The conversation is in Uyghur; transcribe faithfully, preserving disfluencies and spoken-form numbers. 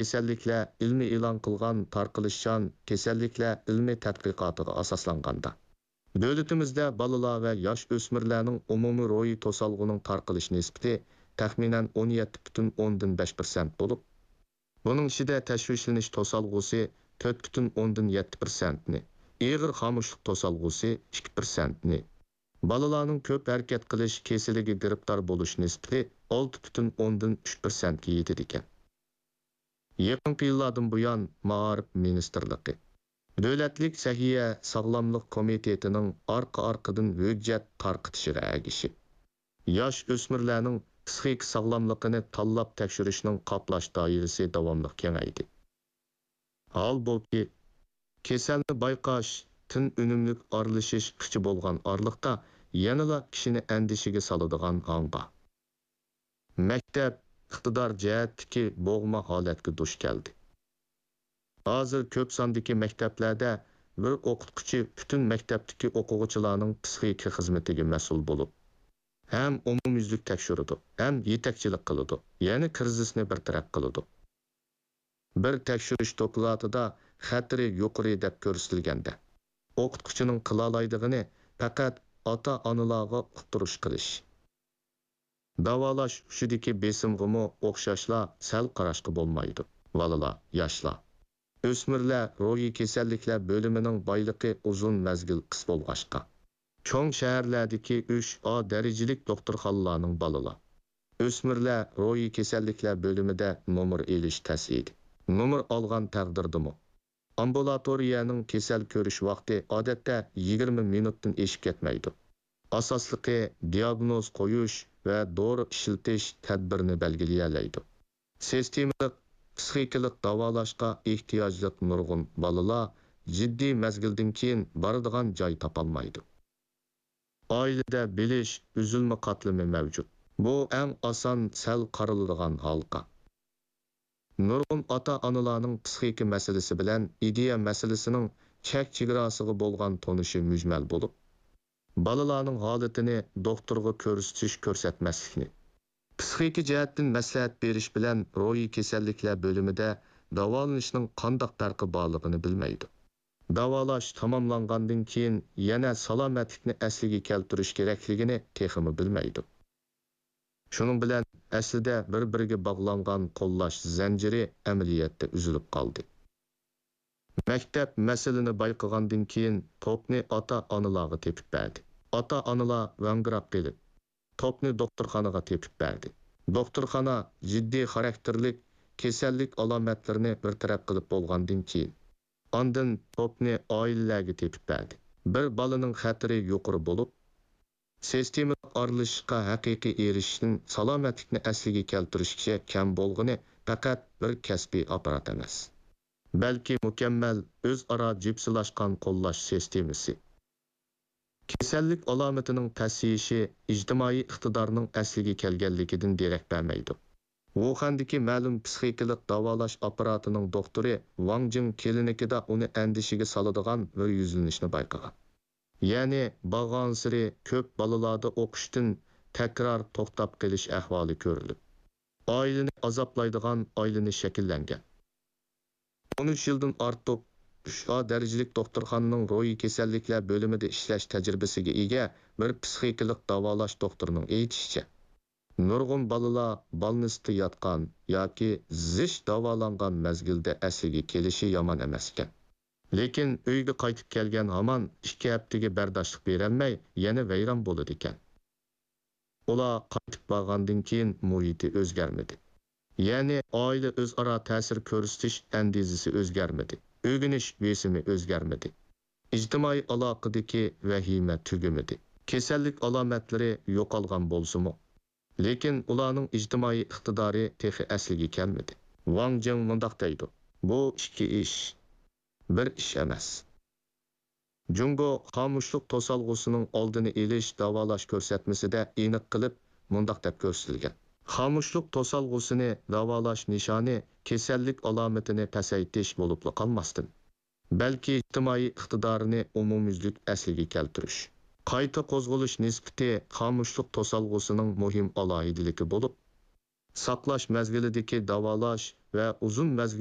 كېسەللىكلەر ئىلمىي ئېلان قىلغان تارقىلىشچان كېسەللىكلەر ئىلمىي تەتقىقاتىغا ئاساسلانغاندا، دۆلىتىمىزدە بالىلار ۋە ياش ئۆسمۈرلەرنىڭ ئومۇمىي روھىي توسالغۇنىڭ تارقىلىش نىسبىتى تەخمىنەن ئون يەتتە پۈتۈن ئوندىن بەش پىرسەنت بولۇپ، بۇنىڭ ئىچىدە تەشۋىشلىنىش توسالغۇسى تۆت پۈتۈن ئوندىن يەتتە پىرسەنتنى، ئېغىر خامۇشلۇق توسالغۇسى ئىككى پىرسەنتنى، بالىلارنىڭ كۆپ ھەرىكەت قىلىش كېسىلىگە گىرىپتار بولۇش نىسبىتى ئالتە پۈتۈن ئوندىن ئۈچ پىرسەنتكە يېتىدىكەن. يېقىنقى يىللاردىن بۇيان، مائارىپ مىنىستىرلىقى، دۆلەتلىك سەھىيە ساغلاملىق كومىتېتىنىڭ ئارقا-ئارقىدىن ھۆججەت تارقىتىشىغا ئەگىشىپ، ياش ئۆسمۈرلەرنىڭ پىسخىكا ساغلاملىقىنى تاللاپ تەكشۈرۈشنىڭ قاپلاش دائىرىسى داۋاملىق كېڭەيدى. ھالبۇكى، كېسەلنى بايقاش، تېن ئۈنۈملۈك ئارىلىشىش ئىقچى بولغان ئارىلىقتا يەنىلا كىشىنى ئەندىشىگە سالىدىغان ھاڭ بار. مەكتەپ ئىقتىدار جەھەتتىكى بوغما ھالەتكە دۇچ كەلدى. ھازىر كۆپ ساندىكى مەكتەپلەردە بىر ئوقۇتقۇچى پۈتۈن مەكتەپتىكى ئوقۇغۇچىلارنىڭ پىسخىكا خىزمىتىگە مەسئۇل بولۇپ، ھەم ئومۇميۈزلۈك تەكشۈرىدۇ، ھەم يېتەكچىلىك قىلىدۇ، يەنى كىرىزىسنى بىر تەرەپ قىلىدۇ. بىر تەكشۈرۈش دوكلاتىدا خەتىرى يۇقىرى دەپ كۆرسىتىلگەندە، ئوقۇتقۇچىنىڭ قىلالايدىغىنى پەقەت ئاتا-ئانىلارغا ئۇقتۇرۇش قىلىش. داۋالاش ئۇچىدىكى بېسىمغىمۇ ئوخشاشلا سەل قاراشقا بولمايدۇ. بالىلار، ياشلار، ئۆسمۈرلەر روھىي كېسەللىكلەر بۆلۈمىنىڭ بايلىقى ئۇزۇن مەزگىل قىس بولغاچقا، چوڭ شەھەرلەردىكى ئۈچ ئا دەرىجىلىك دوختۇرخانىلارنىڭ بالىلار، ئۆسمۈرلەر روھىي كېسەللىكلەر بۆلۈمىدە نومۇر ئېلىش تەس ئىدى. نومۇر ئالغان تەقدىردىمۇ، ئامبۇلاتورىيەنىڭ كېسەل كۆرۈش ۋاقتى ئادەتتە يىگىرمە مىنۇتتىن ئېشىپ كەتمەيدۇ. ئاساسلىقى دىياگنوز قويۇش ۋە دورا ئىشلىتىش تەدبىرىنى بەلگىلىيەلەيدۇ. سىستېمىلىق پىسخىكىلىق داۋالاشقا ئېھتىياجلىق نۇرغۇن بالىلار جىددىي مەزگىلدىن كېيىن بارىدىغان جاي تاپالمايدۇ. ئائىلىدە بىلىش ئۈزۈلمە قاتلىمى مەۋجۇت. بۇ ئەڭ ئاسان سەل قارىلىدىغان ھالقا. نۇرغۇن ئاتا-ئانىلارنىڭ پىسخىكا مەسىلىسى بىلەن ئىدىيە مەسىلىسىنىڭ چەك-چېگراسىغا بولغان تونۇشى مۈجمەل بولۇپ، بالىلارنىڭ ھالىتىنى دوختۇرغا كۆرسىتىش-كۆرسەتمەسلىكنى، پىسخىكا جەھەتتىن مەسلىھەت بېرىش بىلەن روھىي كېسەللىكلەر بۆلۈمىدە داۋالىنىشنىڭ قانداق پەرقى بارلىقىنى بىلمەيدۇ. داۋالاش تاماملانغاندىن كېيىن يەنە سالامەتلىكنى ئەسلىگە كەلتۈرۈش كېرەكلىكىنى تېخىمۇ بىلمەيدۇ. شۇنىڭ بىلەن ئەسلىدە بىر-بىرىگە باغلانغان قوللاش زەنجىرى ئەمەلىيەتتە ئۈزۈلۈپ قالدى. مەكتەپ مەسىلىنى بايقىغاندىن كېيىن توپنى ئاتا-ئانىلارغا تېپىپ بەردى. ئاتا-ئانىلار ۋاڭگىراپ قېلىپ، توپنى دوختۇرخانىغا تېپىپ بەردى. دوختۇرخانا جىددىي خاراكتېرلىك كېسەللىك ئالامەتلىرىنى بىر تەرەپ قىلىپ بولغاندىن كېيىن، ئاندىن توپنى ئائىلىلەرگە تېپىپ بەردى. بىر بالىنىڭ خەتىرى يۇقىرى بولۇپ، سىستېمىلىق ئارىلىشىشقا ھەقىقىي ئېرىشىشتىن سالامەتلىكنى ئەسلىگە كەلتۈرۈشكىچە كەم بولغىنى پەقەت بىر كەسپىي ئاپپارات ئەمەس، بەلكى مۇكەممەل ئۆزئارا جىپسىلاشقان قوللاش سىستېمىسى. كېسەللىك ئالامىتىنىڭ پەسىيىشى ئىجتىمائىي ئىقتىدارنىڭ ئەسلىگە كەلگەنلىكىدىن دېرەك بەرمەيدۇ. ۋۇخەندىكى مەلۇم پىسخىكىلىق داۋالاش ئاپپاراتىنىڭ دوختۇرى ۋاڭ جىڭ كلىنىكىدا ئۇنى ئەندىشىگە سالىدىغان بىر يۈزلىنىشنى بايقىغان. يەنى بارغانسېرى كۆپ بالىلاردا ئوقۇشتىن تەكرار توختاپ قېلىش ئەھۋالى كۆرۈلۈپ، ئائىلىنى ئازابلايدىغان ئايلىنىش شەكىللەنگەن. ئون ئۈچ يىلدىن ئارتۇق ئۈچ ئا دەرىجىلىك دوختۇرخانىنىڭ روھىي كېسەللىكلەر بۆلۈمىدە ئىشلەش تەجرىبىسىگە ئىگە بىر پىسخىكىلىق داۋالاش دوختۇرىنىڭ ئېيتىشىچە، نۇرغۇن بالىلار بالنىستتا ياتقان ياكى زىچ داۋالانغان مەزگىلدە ئەسلىگە كېلىشى يامان ئەمەسكەن. لېكىن ئۆيگە قايتىپ كەلگەن ھامان ئىككى ھەپتىگە بەرداشلىق بېرەلمەي، يەنە ۋەيران بولىدىكەن. ئۇلار قايتىپ بارغاندىن كېيىن مۇھىتى ئۆزگەرمىدى. يەنى ئائىلە ئۆزئارا تەسىر كۆرسىتىش ئەندىزىسى ئۆزگەرمىدى، ئۆگىنىش بېسىمى ئۆزگەرمىدى، ئىجتىمائىي ئالاقىدىكى ۋەھىمە تۈگىمىدى. كېسەللىك ئالامەتلىرى يوقالغان بولسىمۇ، لېكىن ئۇلارنىڭ ئىجتىمائىي ئىقتىدارى تېخى ئەسلىگە كەلمىدى. ۋاڭ جىڭ مۇنداق دەيدۇ: «بۇ ئىككى ئىش، بىر ئىش ئەمەس.» جۇڭگو خامۇشلۇق توسالغۇسىنىڭ ئالدىنى ئېلىش داۋالاش كۆرسەتمىسىدە ئېنىق قىلىپ مۇنداق دەپ كۆرسىتىلگەن: خامۇشلۇق توسالغۇسىنى داۋالاش نىشانى كېسەللىك ئالامىتىنى پەسەيتىش بولۇپلا قالماستىن، بەلكى ئىجتىمائىي ئىقتىدارىنى ئومۇميۈزلۈك ئەسلىگە كەلتۈرۈش. قايتا قوزغىلىش نىسبىتى خامۇشلۇق توسالغۇسىنىڭ مۇھىم ئالاھىدىلىكى بولۇپ، ساقلاش مەزگىلىدىكى داۋالاش ۋە ئۇزۇن مەزگىل